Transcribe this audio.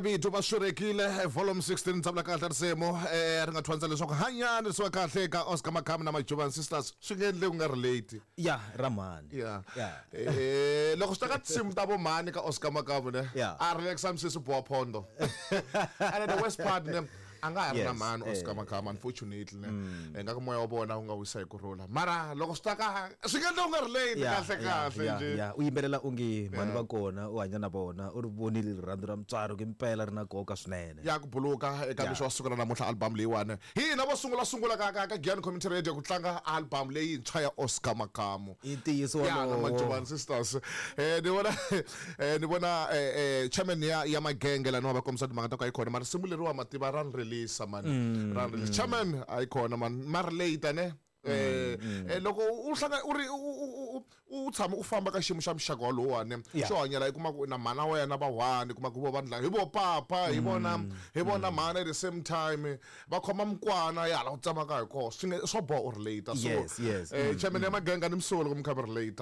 Vito va swirekile volume 16 tsavula kahle risimu ri nga thwandza leswaku hanyani risiwa kahle ka Oscar Makamu na Majuvan Sisters swi nge endli ku nga relate. Ya ra mhani. Ya. Loko swi ta ka tinsimu ta vo mhani ka Oscar Makamu ne a relaxa misisi boha phondo. And the worst part ne a nga ha ri na mhani Oscar Makamu unfortunately ne. Ingaku moya wa vona wu nga wisa hi ku rhula. Mara loko swi ta ka swi nga endla u nga relate kahle kahle njhe. U yimbelela onge mhani va kona u hanya na vona u ri vonile rirhandzu ra mutswari ku impela ri na nkoka swinene. Ya ku buluka eka mixo wa siku ra namuntlha album leyiwani. Hi hina vo sungula sungula ka ka ka Giyani Community Radio ku tlanga album leyintshwa ya Oscar Makamu. I ntiyiso Ya na wolowo. Majovani Sisters. Ni vona ni vona chairman ya ya magenge laniwa va kombisa timhaka ta ku a yi kona mara risimu leriwa mativa ra ni rilisa mani ra ni rilisa. Chairman a yi kona mani ma relate ne. Loko u hlanga u ri u tshama u famba ka xiyimo xa muxaka walowani xo hanyela i kuma ku na mhana wena va one kuma ku vo vanhu lava hi vo papa hi vona hi vona mhana at the same time va khoma mukwana ya hala u tsamaka hi kona swi nge swo boha u relate so Yes, yes. Chairman ya maganga ni misolo loko mi kha mi relate.